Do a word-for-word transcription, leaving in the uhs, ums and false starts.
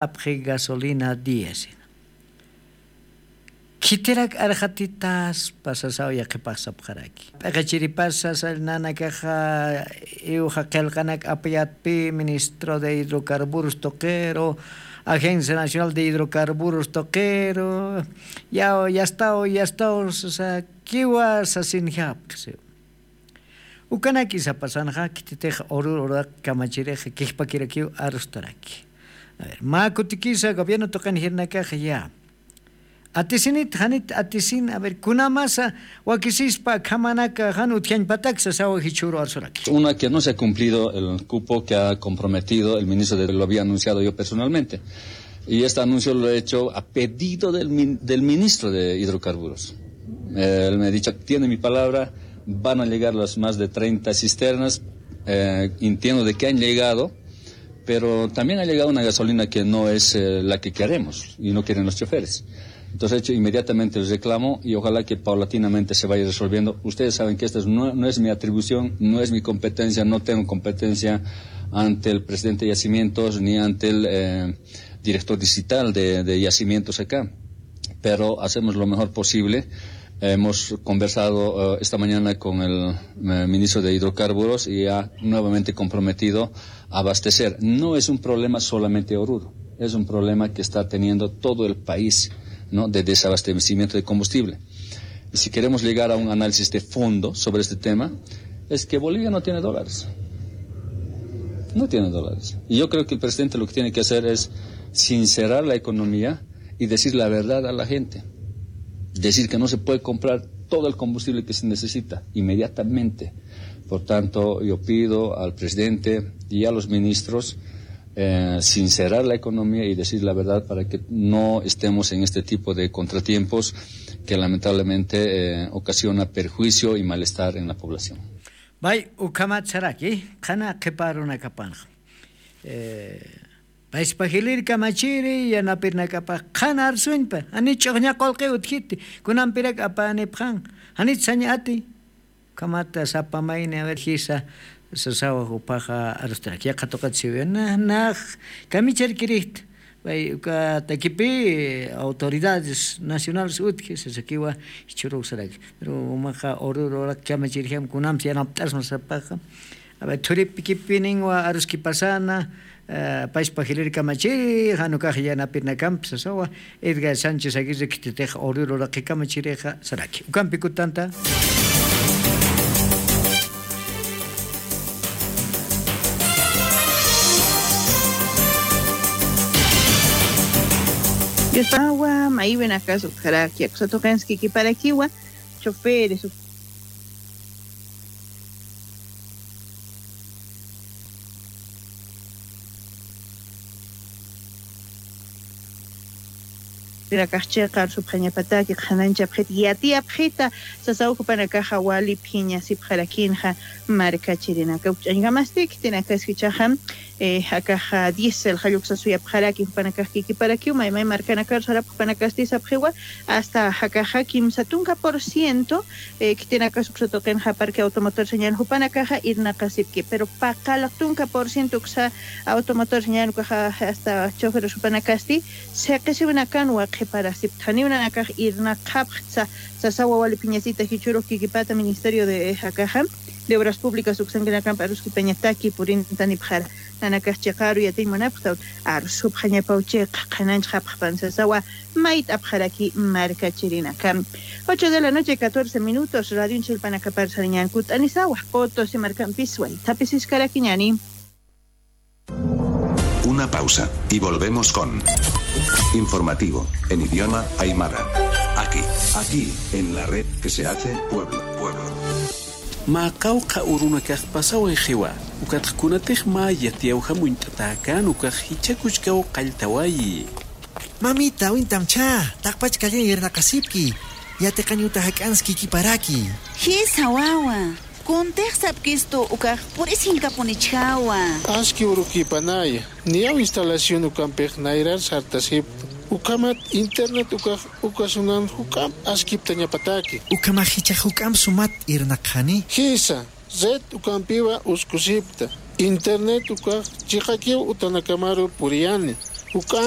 apxi gasolina diésel. Khitirak arxatitaspa sasaw yaqhipax sapxaraki. P'iqichiripasa sasa nanakaxa iwxa qillqanak apayatpi, ministro de hidrocarburos tuqiru, Agencia Nacional de Hidrocarburos tuqiru, yaw yastaw yastaw sasakiwa sasinjapxi siw. Ukanaki sapasanxa khititix urur uraq kamachirixa kijpakirakiw arustaraki. A ver, mä kutikisa gobierno tuqin jirnakaxa ya. Atisinit janit atisin, a ver, kunamasa wakisispa akhamanaka jan utjañpatak sasawa jichhüru arsuraki. Una, que no se ha cumplido el cupo que ha comprometido el ministro de, lo había anunciado yo personalmente. Y este anuncio lo he hecho a pedido del min-, del ministro de Hidrocarburos. Eh, él me ha dicho, tiene mi palabra, van a llegar las más de treinta cisternas, eh, entiendo de que han llegado, pero también ha llegado una gasolina que no es, eh, la que queremos y no quieren los choferes. Entonces he hecho inmediatamente el reclamo y ojalá que paulatinamente se vaya resolviendo. Ustedes saben que esta es, no, no es mi atribución, no es mi competencia, no tengo competencia ante el presidente de Yacimientos ni ante el, eh, director distrital de, de Yacimientos acá. Pero hacemos lo mejor posible. Hemos conversado, eh, esta mañana con el, eh, ministro de Hidrocarburos y ha nuevamente comprometido a abastecer. No es un problema solamente de Oruro, es un problema que está teniendo todo el país, ¿no? De desabastecimiento de combustible. Y si queremos llegar a un análisis de fondo sobre este tema, es que Bolivia no tiene dólares. No tiene dólares. Y yo creo que el presidente lo que tiene que hacer es sincerar la economía y decir la verdad a la gente. Decir que no se puede comprar todo el combustible que se necesita inmediatamente. Por tanto, yo pido al presidente y a los ministros, eh, sincerar la economía y decir la verdad para que no estemos en este tipo de contratiempos que lamentablemente, eh, ocasiona perjuicio y malestar en la población. Bay, ukhamat saraki, qhana qhipa arunakapanxa. Eh, Payspa jilïr kamachiri, yanapirnakapax qhana arsuñpa, jani ch'uxña qullqi utjiti, kunampirak apänipxan, janit sañ ati. Ukhamata sapa mayni, a ver, jisa, sasawa jupaxa arustarak, yaqha tuqit siwi, na, nax, kamichirkirixta, bay, uka takipi, autoridades nacionales utji, sasakiwa, jichhürux saraki. Pero umaxa urur urak kamachirjam, kunamsa yanapt'asma sapaxa. A ver, thuripikipinwa aruskipasana, eh, payspa jilïr kamachiri, jan ukax yanapirnakampi sasawa, Edgar Sánchez Aguirre khititix urur uraqi kamachirixa saraki. Ukampi kutanta. Yuspawa, maywinakas utjaraki, aksatuqinskikiparakiwa, choferes, Rinakax chiqa arsupxañapataki, qhanañchapxita, yatiyapxita, sasaw jupanakaxa wali phiñasipxarakinxa markachirinaka. Ukch'añkamasti, khitinakaskichaxa, eh, akaxa diésel jalluksasusuyapxaraki, jupanakax kikiparakiw, maymay markanakar sarapx jupanakasti sapxiwa, hasta jakaxa kimsa tunka por ciento, eh, khitinakas uksatuqinxa parque automotor señal jupanakaxa irnaqasipki, pero paqallaq tunka por ciento uksa automotor señal ukaxa hasta choferes jupanakasti, siqisiwinakanwa qhiparasiptaniw nanakax irnaqapxtsa, sasawa wali phiñasita jichhürux kikipata Ministerio de, eh, jakaxa, de Obras Públicas uksankinakamp aruskipañataki purintanipxara. Nanakax chiqa aru yatiñ munapxtaw, arsupxañapaw chiqa, qhanañchapxpan sasawa, mayt'apxaraki markachirinaka. Ocho de la noche, catorce minutos, radionchillpanakapar sariñan kut'anisawa, Potosí markampis waythapisiskaraki ñani. Una pausa y volvemos con Informativo en idioma aymara. Aquí, aquí, en la red que se hace pueblo, pueblo. Mä qawqha urunakax pasawayxiwa, ukatxa kunatix mä yatiyawjam uñt'atäkän ukax jichha kuchkaw qalltawayi. Mamita, uñtamchä, taqpach calleñ irnaqasipki, yatiqañ uta jak'ans kikiparaki. Jisa wawa, kuntix sapkistu ukax purisinkapunichäwa. Aski urukipanaya, niyaw instalación ukampix nayrar sartasipta, ukhamat internet ukax uka sunan juk'amp askiptañapataki. Ukhamax jichhax juk'amp sumat irnaqxani. Jisa, red ukampiwa uskusipta. Internet ukax chiqakiw utanakamaru puriyani. Juk'amp